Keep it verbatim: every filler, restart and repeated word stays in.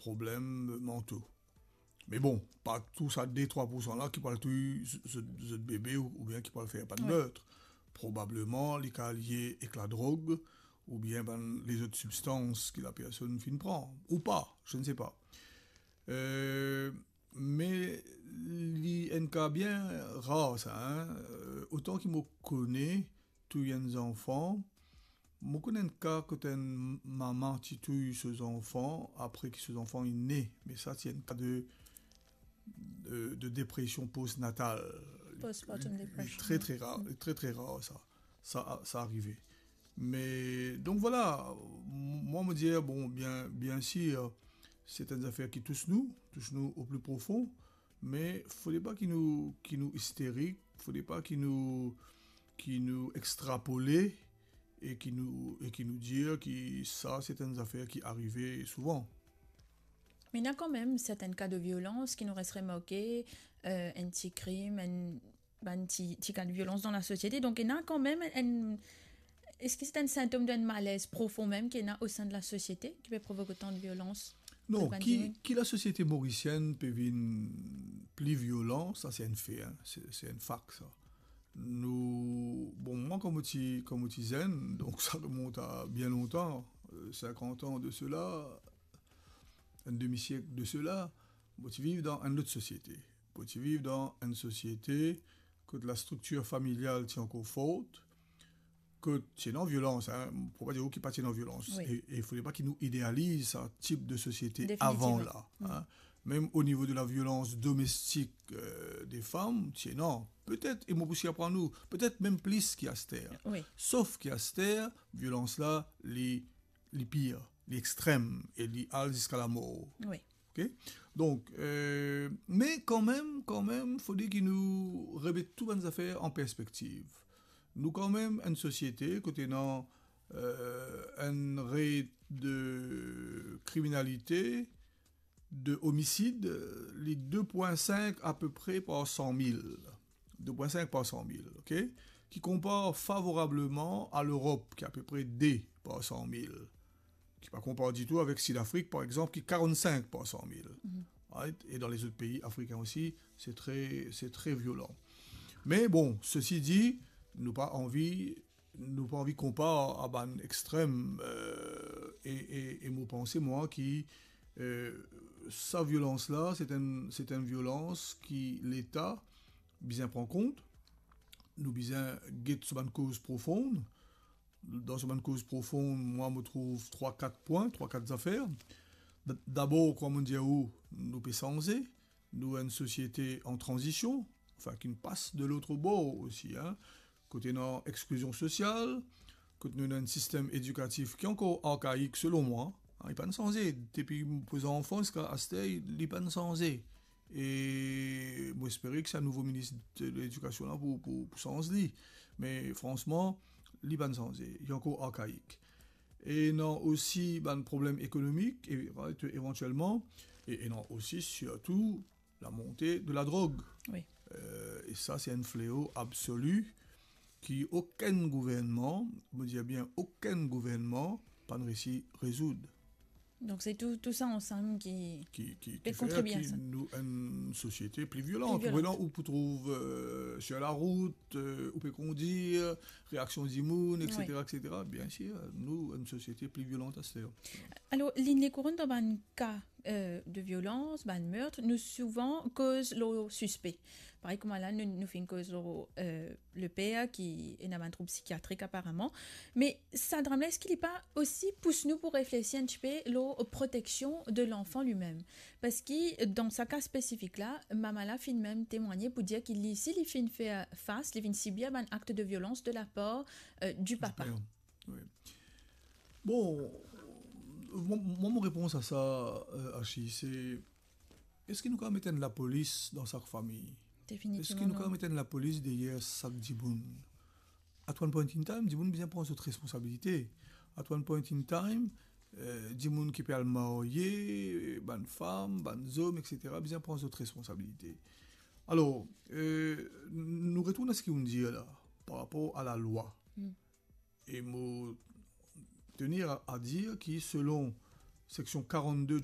problem manto. Me bon, pa tou sa de trwa poursan la ki pou al touy z-, z-, zot bebe ou, oubien ki pou al fer bann mert. Probableman, li kav lie ek ladrog, oubien bann lezot sibstans ki lapersonn finn pran, ou pa, je ne sais pas. Euh, me li enn ka bien rar sa, hein. Euh, otan ki mo kone, touy enn zanfan, mo konn enn ka kot enn mama ti touy so zanfan, apre ki so zanfan inn ne, me sa ti enn ka de, de, de depresion postnatal. Postpartum depression, tre, tre rar, tre, tre rar sa. Sa, sa arive. Me, donk vwala, m-, mwa, mo dir, bon, bien, bien sir, se enn zafer ki tous nou, tous nou o pli profon, me fode pa ki nou, ki nou isterik, fode pa ki nou, ki nou extrapole e ki nou, e ki nou dir ki sa, se enn zafer ki arive souvan. Me ena kanmem sertenn ka de violans ki nou res remarke, euh, enn ti krim, enn, bann ti, ti ka de violans dan lasosiete. Donk, ena kanmem enn, eski se enn sintom d'enn malez profon mem ki ena o sein de lasosiete ki pe provok otan de violans? Non, ki, ki lasosiete morisienn pe vinn pli violan, sa se enn fe, hein, se, se enn fak, sa. Nou, bon, mwa, kan mo ti, kan mo ti zenn, donk sa remont a bien lontan, euh, sinkant an de sela, enn demi siek de sela, mo ti viv dan enn lot sosiete. Mo ti viv dan enn sosiete kot lastriktir familial ti ankor for, kot ti ena violans, hein, pou pa dir ki pa ti ena violans. Wi. E, e fode pa ki nou idealiz sa tip de sosiete avan la, hein. Mem o nivo de laviolans domestik, euh, de fam, ti ena, petet, e mo pou sirprann ou, petet mem plis ki aster. Wi. Sof ki aster, violans la, li, li pir, li extrem, e li al ziska lamor. Wi. Ok? Donk, euh, me kanmem, kanmem, fode ki nou remet tou bann zafer an perspektiv. Nou kanmem enn sosiete kot ena, euh, enn ret de kriminalite, de omisid, li de pwin sink apepre par san mil. De pwin sink par san mil, ok? Ki konpar favorableman a Lerop, ki apepre de par san mil. Ki pa konpar ditou avek Sidafrik, par exanp, ki karant-sink par san mil. Right? E dan lezot pei afrikin osi, se tre, se tre violan. Me bon, sesi di, nou pa anvi, nou pa anvi konpar a bann extrem, euh, e, e, e mo panse, mwa, ki, euh, sa violans la, se enn, se enn violans ki Leta bizin pran kont, nou bizin get so bann koz profon. Dan so bann koz profon, mwa, mo trouv trwa, kat pwin, trwa, kat zafer. D-, dabor, kouma mo dir ou, nou pe sanze, nou enn sosiete an tranzision, anfin, ki pas de lot bor osi, hein. Kot ena exklizion sosial, kot nou ena enn sistem edikatif ki ankor arkaik, selon mwa, hein, li pa'nn sanze. Depi mo zanfans ziska aster, li pa'nn sanze. E mo espere ki sa nouvo minis de ledikasion la pou, pou, pou sanz li. Me fransman, li pa'nn sanze, li ankor arkaik. E ena osi bann problem ekonomik, e, right, evantielman, e ena osi sirtou lamonte de ladrog. Wi. Euh, e sa, se enn fleo absoli ki okenn gouvernman, mo dir bien okenn gouvernman, pa'nn resi rezoud. Donk, se tou, tou sa ansam ki, ki, ki, pe ki fer kontribie a ki sa. Nou enn sosiete pli violan. Pli violan. Ou pou trouv, euh, sir larout, euh, ou pe kondir, reaksion dimoun, wi, et cetera, et cetera. Bien sir, nou, enn sosiete pli violan aster. Alor, Line Lecourant, dan bann ka, euh, de violans, bann mert, nou souvan koz lor sispe. Parey kouma la, nou, nou finn koz lor, euh, le per ki ena bann troub psikiatrik aparaman. Me sa dram la, eski li pa osi pous nou pou reflesi enn tipe lor proteksion de lanfan limem? Parski dan sa ka spesifik la, mama la finn mem temwagne pou dir ki li, si li finn fer fas, li finn sibir bann akt de violans de la par, euh, du papa. Super. Wi. Bon, mo, mo, mo repons a sa, euh, Ashi, se, eski nou kav met enn lapolis dan sak fami? Definitivman non. Eski nou kav met enn lapolis deryer sak dimoun? At one point in time, dimoun bizin pran zot responsabilite. At one point in time, euh, dimoun ki pe al marye, bann fam, bann zom, et cetera, bizin pran zot responsabilite. Alor, euh, n-, nou retourn a seki ou'nn dir la, par rapor a lalwa. Hmm. E mo tenir a, a dir ki selon seksion karant-de